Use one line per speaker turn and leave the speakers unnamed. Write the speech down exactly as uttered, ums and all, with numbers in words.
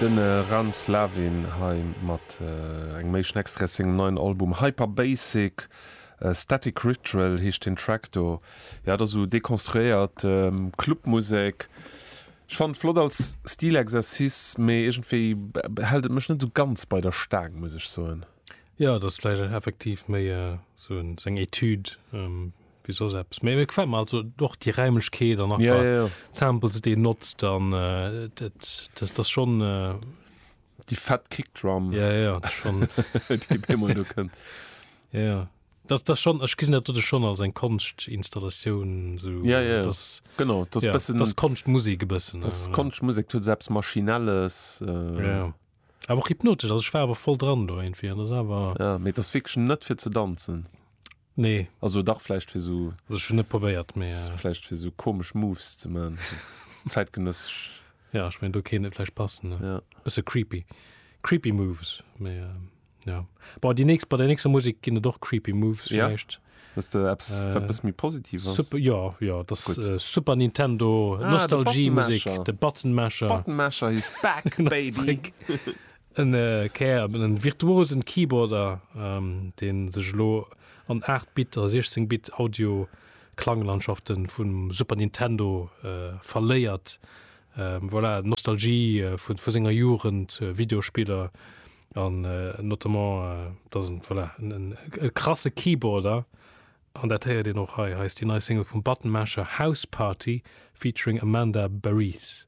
Den Ran Slavin hei mat engem éischten Extrait aus sengem neien Album Hyper Basic. Static Ritual heescht den Track do. Jo, dat ass esou dekonstruéiert Clubmusek. Ech fannen et flott als Stilexercice, mee iergendwéi hält et mech net esou ganz bei der Staang, muss ech soen.
Jo, dat ass vläicht effektiv méi esou eng Etüd wéi soss eppes. Mee mir gefält mer also och déi Räimlechkeet an
einfach ja, ja, ja.
d'Samples, déi en notzt an dat dat ass schonn.
Déi fett Kickdrum.
Ja, ja, dat ass schonn.
Déi op eemol do kënnt.
Ja, ja. Dat dat schonn, ech gesinn dat dote schonn als eng Konschtinstallatioun
esou. Ja, ja, ja. Das, genau,
dat ass ja, bëssen. Dat ass Konschtmusek e bëssen.
Dat ass Konschtmusek, dat huet esou eppes Maschinelles.
Äh. Ja. Awer och hypnotesch, also ech war awer voll dran do iergendwéi an dat ass awer.
Ja, mee et ass wierklech net fir ze danzen.
Nee.
Also dach vläicht fir sou.
Also ech hunn net probéiert, mee.
Vläicht fir sou komesch Moves ze man, zäitgenëssesch.
Ja, ech mengen do kéint et vläicht passen, ne?
Ja.
Bësse creepy. Creepy Moves, mee ja. Bon, déi nächst, bei der nächster Musek ginn et och creepy Moves
vläicht. Ja. Hues de eppes, wat e bësse méi positiv
ass? Super, jo, jo, dat ass Super Nintendo Nostalgie-Musek, de Button Masher.
Button Masher is back, baby!
En Kär, en virtuosen Keyboarder, dee sech elo an aacht Bit a siechzéng Bit Audio Klanglandschaften vum Super Nintendo verléiert. Voilà, Nostalgie vu senger Jugend, Videospiller an notamment, dat ass en, voilà, e krasse Keyboarder an dat héiert een och hei. Hei ass déi nei Single vum Button Masher, House Party featuring Amanda Bareath.